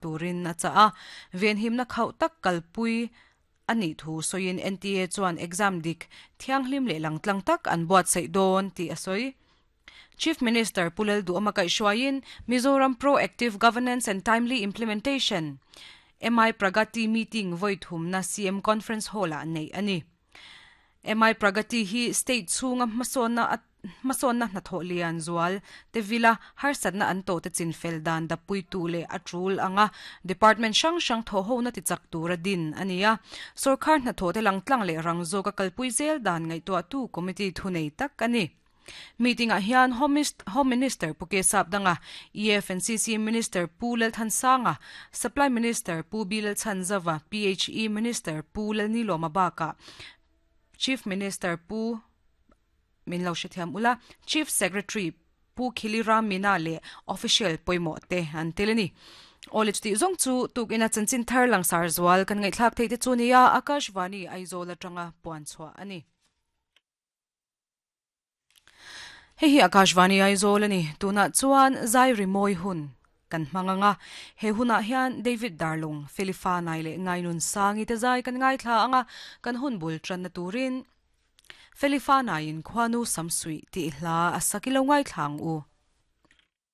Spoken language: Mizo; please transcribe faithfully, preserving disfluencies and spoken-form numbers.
Turin a chah a, venhimna khauh tak kalpui a nih thu sawiin N T A chuan exam dik thianghlim leh langtlang tak an buatsaih dawn tih a sawi. Chief Minister Pu Lalduhawma kaihhruaiin Mizoram Pro-Active Governance and Timely Implementation, M I Pragati meeting vawi thumna C M Conference Hall-ah neih a ni. M I Pragati hi state chhunga hmasawnna hmasawnna hnathawh lian zual te vila harsatna an tawh te chinfel dan dappuitu leh a tul anga department hrang hrang thawh hona tichak tura din a ni a. Sorkar hnathawh te langtlang leh rang zawka kalpui zel dan ngaihtuahtu committee thunei tak a ni. Meeting-ah hian Home Minister Pu K Sapdanga, E F and C C Minister Pu Lalthansanga, Supply Minister Pu B Lalchhanzova, P H E Minister Pu Lalnilawma bakah Chief Minister Pu min lo hrethiam ula Chief Secretary Pu Khiliram Meena leh official pawimawh te an tel a ni. Awle chutih zawng chu tukina chanchin thar langsar zual kan ngaihthlak theih te chu nia Akashvani Aizawl atanga puan chhuah a ni. Hei hi Akashvani Aizawl a ni. Tunah chuan zai rimawi hun kan hmang anga he hunah hian David Darlung, Felifa Nai leh Ngainun Sangi te zai kan ngaithla anga kan hun bul tanna turin Felifa Naiin Khuanu Samsuih tih hla a sak ilo ngaithla ang u.